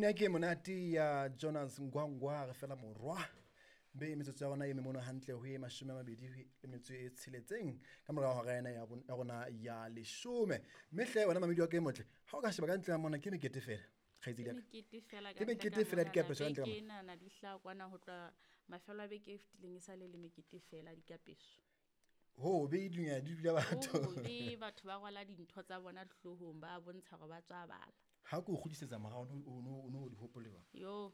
Pina ke monate ya Jonas Ngwangwa re fela morwa. Mme metsotso ya rona e memono hantle ho e 26 ka morao hora ena ya rona ya 10. Mme hle wena mamedi wa ka e motle, ha o ka sheba ka ntle ya mona ke mekete fela. Kgaitsedi ya ka. Ke mekete fela dikapeso ka ntle. Ke nana di hlaha kwana ho tloha mafelo a beke e fetileng e sale le mekete fela dikapeso. Ho be dunya di dula batho. Ho be batho ba rwala dintho tsa bona hloohong ba bontsha hore ba tswa bala. Ha ke o kgutlisetsa morao o no di hopole jwang? Yo,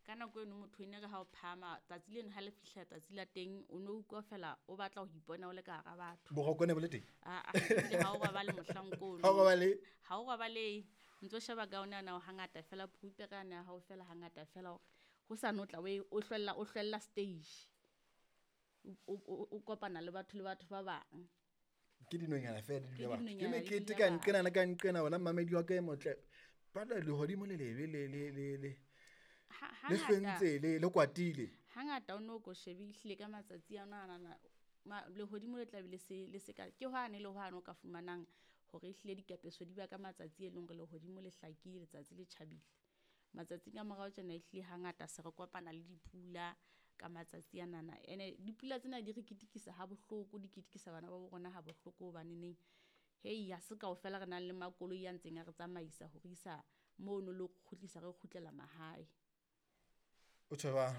ka nako eno motho ene re ha o phahama tsatsi leno ha le fihla tsatsi la teng o no utlwa fela o batla ho ipona o le ka hara batho. Boroko ne bo le teng? Aa, ebile ha o robale mohlankono. Ha o robale? Ha o robale, ntso sheba ka ona na hangata fela prepare ana ha o fela hangata fela hore ho sa no tla o hlwella o hlwella stage. O kopana le batho ba bang. Ke dinonyana fela di dula batho. Ke mekete ka nqena le ka nqena wena mamedi wa ka e motle. Ba le lehodimo le lebe le le le le. Le hlwentse le kwatile. Hangata o no ko shebihle ka matsatsi a nana lehodimo le tla be le se ka ke hwane le hwane o ka fumanang hore ehlile dikapeso di ba ka matsatsi e leng hore lehodimo le hlakile letsatsi le tjhabile. Matsatsing a morao tjena ehlile hangata se re kopana le dipula ka matsatsi a nana. Ene dipula tsena di re ketekisa ha bohloko, di ketekisa bana ba bo rona ha bohloko hobane neng hei ha se kaofela re nang le makoloi a ntseng a re tsamaisa ho re isa mono le ho kgutlisa re kgutlela mahae. O tjho jwang?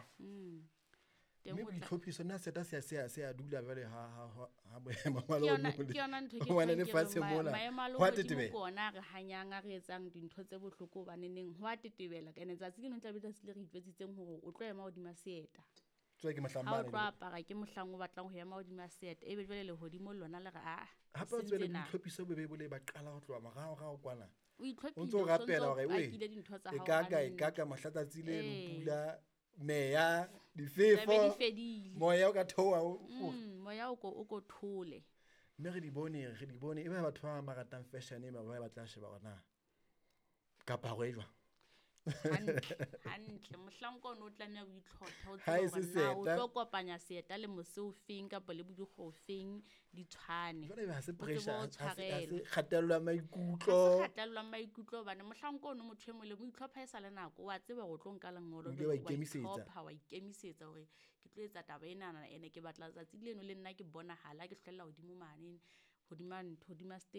Mme boitlhophiso nna seta se a dula jwale ha boemo ba lehodimo Ke yona ntho ke lefatshe mona. Maemo a lehodimo ke ona a re hanyang a re etsang dintho tse bohloko hobane neng ho a tetebela. Ene tsatsi leno tla be tsatsi le re itjwetsitseng hore o tlo ema hodima seeta. Tswe ke mohlang Ha o tlo apara ke mohlang o batlang ho ema hodima seeta. Ebe jwale lehodimo lona le re a. Hape o tswele boitlhophiso bo be bo le ba qala ho tloha morao rao kwana. O itlhophile o ntso rapela hore o pakile dintho tsa hao. E ka ka mohla tsatsi le pula meya difefo moya o ka theoha moya o ko thole. Mme re di bone e ba batho ba ratang fashion e ba ba batla sheba hore na kaparo e jwang. Hantle mohlanka o no tlameha o itlhophe o tsebe hore na o tlo kopanya seeta le mose o feng kapa le bodikgwe o feng di tshwane. Jwale ha se pressure, ha se kgatello ya maikutlo. Ha se kgatello ya maikutlo hobane mohlanka ono motho e mong le mo itlhopha e sa le nako wa tseba hore o tlo nka lengolo wa ikemisetsa. Wa ikemisetsa hore ke tlo etsa taba enana ene ke batla tsatsi leno le nna ke bonahala ke hlwella hodimo mane hodima ntho hodima stage.